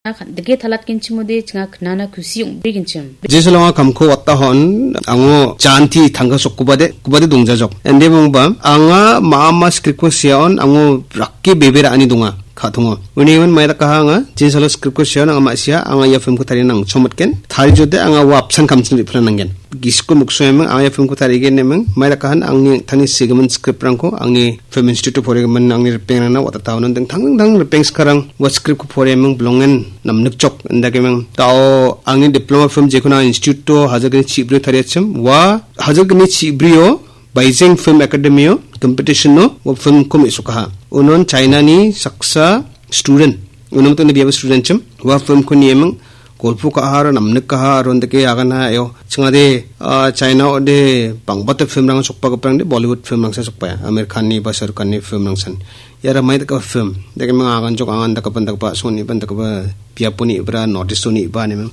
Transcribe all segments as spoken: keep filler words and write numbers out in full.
Dike talatgenchimode chinga knana kusi ong·brigenchim. Jesalonga kamko watahon ango janti tangka sokkuba de, kuba de dongjajok. Ende mongba, anga ma·ama script-ko seaon ango rakke bebe ra·ani donga, ka·tongo. Uni iman maidakaha anga, Jesalo script-ko seaon anga ma·sia, anga ia film-ko tarina nangchomatgen. Tarijode anga ua apsan kamchin riplananggen. Gisiko muksoeming, anga ia film-ko tarigen neming, maidakahan angni tangni sigimin script-rangko, angni Film Institute-o poregimin angni ripengrangna watataonan dingtang dingtang ripeng skarang ua script-ko poreming bilongen namnikjok indakeming. Tao angni diploma film jekona institute-o hajar gni chibrio tariachim, ua hajar gni chibrio Beijing Film Academy-o competition-o ua film-ko me·sokaha. Unon China-ni saksa student, unon tangni biapo student chim, ua film-ko nieming, golpo ka·aha aro namnik ka·aha aro indake aganha eo. Chingade, ah, China ode bangbata film-rang sokpagiparangde Bollywood film-rangsan sokpaia. Amir Khan-ni ba Shah Rukh Khan-ni film-rangsan. Iara mai dakgipa film. Dake ming aganjok angan dakgipa dakgipa songni ban dakgipa biaponi ibra notice-oni iba neming.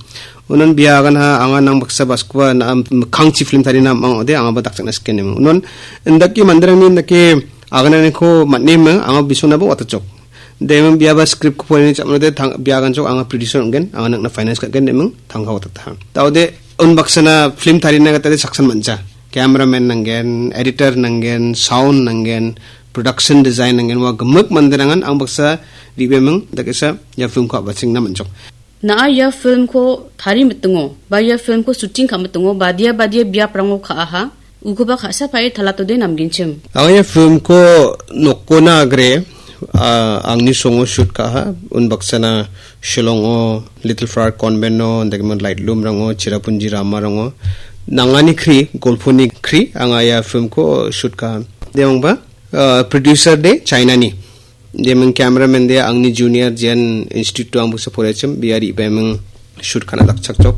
Unon bia aganha angan nang baksa baskua na am-, kangchi film tarina mang ode angaba dakchakna siken neming. Unon indake manderangni indake agananiko man·eming anga bisonaba watachok. Deming biaba script-ko poreni cha·manode tang-, bia ganchok anga producer ong·gen, anga nang·na finance ka·gen deming tangka watataha. Daode unbaksana film tarina gitade saksan man·ja. Cameraman nanggen, editor nanggen, sound nanggen, production design nanggen, ua gimik manderangan ang baksa ribeming dakesa ia film-ko a·bachengna man·jok. Na·a ia film-ko tari mitingo, ba ia film-ko shooting ka·mitingo, badia badia biaprango ka·aha, ukoba ka·sa pa·e talatode namgenchim. Anga ia film-ko nokona agre, ah, angni songo shoot ka·aha, unbaksana Shillong-o, Little Flower Convent-o, indakgimin Light Loom-rango, Cherrapunji Rama-rango, nangani kri, golponi kri, anga ia film-ko shoot ka·aha. Demangba, ah, producer de China-ni. Deming cameraman de angni junior jean institute-o ang baksa poraichim, bia ribeming shoot ka·na dakchakjok.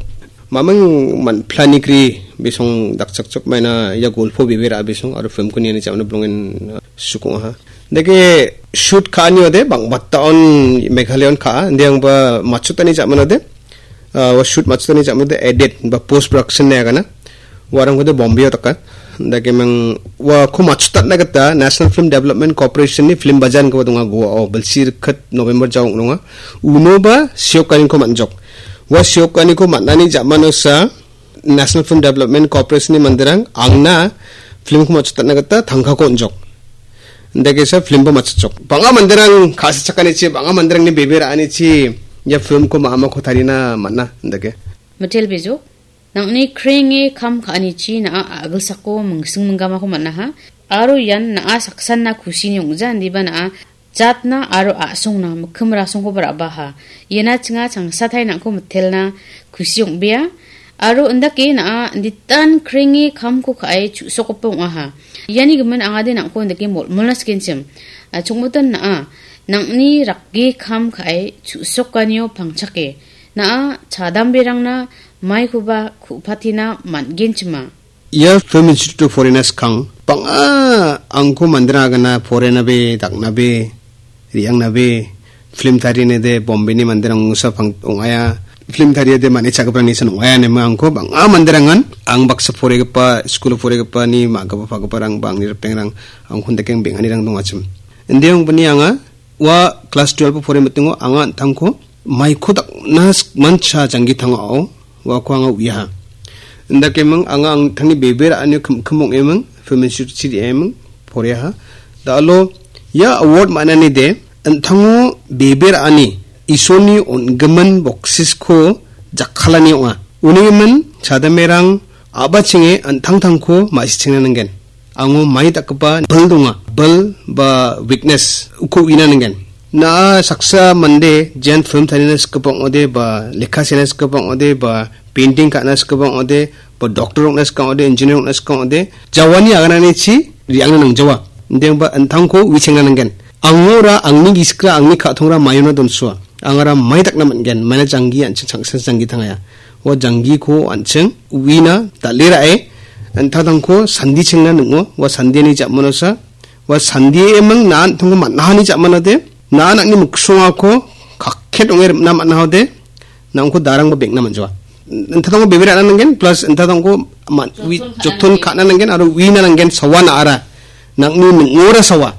Maming man-, planigri bisong dakchakjok, maina ia golpo bebe ra·a bisong aro film-ko niani cha·mano bilongen, uh, sukong·aha. Dake shoot ka·ani ode bangbata on Meghalaya on ka·a, inde angba matchotani cha·mano de, ah, ua shoot matchotani cha·mode edit ba post production ine agana. Uarangkode Bombay-o daka. Dake mang uako matchotatna gita National Film Development Corporation-ni film bazaar-koba donga Goa-o, bilsi rikket November jaong donga. Unoba siokaniko man·jok. Ua siokaniko man·ani ja·manosa National Film Development Corporation-ni manderang angna film-ko matchotatna gita tangkako on·jok. Indakesa film-ba matchotjok. Bang·a manderang ka·sichakanichi, bang·a manderangni bebe ra·anichi ia film-ko ma·amako tarina man·a, indake. Mitel Bejo, nang·ni krenge kam ka·anichi na·a a·gilsako mingsing minggamako man·aha. Aro ian na·a saksanna kusini ong·ja, indiba na·a jatna aro a·songna mikkim rasongkoba ra·baha. Iana chinga changsatai nang·ko mitelna kusi ong·bea. Aro indake na·a inditan krenge kamko ka·e chu·sokgipa ong·aha. Iani gimin angade nang·ko indake molmolna sikenchim. A, chongmoton na·a, nang·ni rake kam ka·e chu·sokanio pangchake. Na·a chadamberangna maikoba ku·patina man·genchima. Ia Film Institute-o porena skang bang·a angko manderang agana porenabe, daknabe, re·angnabe, film tarinede Bombay-ni manderang ongsa pang-, ong·aia. Film tariade manichakgiparangni san ong·aia ineba angko bang·a manderangan ang baksa poregipa, skul porigipani ma·gipa pagiparang ba angni ripengrang angkon dakeng beng·anirang dongachim. Inde ongbini anga ua klas twelve-o pore mitingo anga an·tangko maiko dakna sik-, mancha janggi tangao uako anga uiaha. Indakeming anga an·tangni bebe ra·anio kim-, kim ong·eming, film institute-chi re·eming, poreaha. Da·alo ia award man·anide an·tango bebe ra·ani Isolni on·gimin boksisko jakkalani ong·a. Unigimin chadamerang a·bachinge an·tangtangko ma·sichengna nanggen. Ango mai dakgipa bil donga. Bil ba weakness uko uina nanggen. Na·a saksa mande jean film tarina sikgipa ong·ode ba lekka sena sikgipa ong·ode ba painting ka·na sikgipa ong·ode ba doctor ong·na sika ong·ode, engineer ong·na sika ong·ode, jawani agananichi re·angna nangjawa. Indengba an·tangko uichengna nanggen. Angora, angni gisikra, angni ka·tongra maiona donsoa. Angara mai dakna man·gen, maina janggi an·ching changsan janggi tangaya. Ua janggiko an·ching uina dal·e ra·e, an·tangtangko sandichengna ning·o, ua sandiani ja·manosa, ua sandie emang na an·tangko man·ahani ja·manode, na an·angni miksongako kakket ong·e rim·na man·ahode, na·ongko darangba beng·na man·jawa. An·tangtangko bebe ra·na nanggen, plus an·tangtangko man-, ui-, joton ka·na nanggen, aro uina nanggen, sawa na·ara. Nang·ni ning·ora sawa.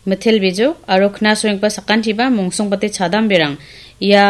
Mitel Bejo aro knasoenggipa sakantiba mongsongbate chadamberang ia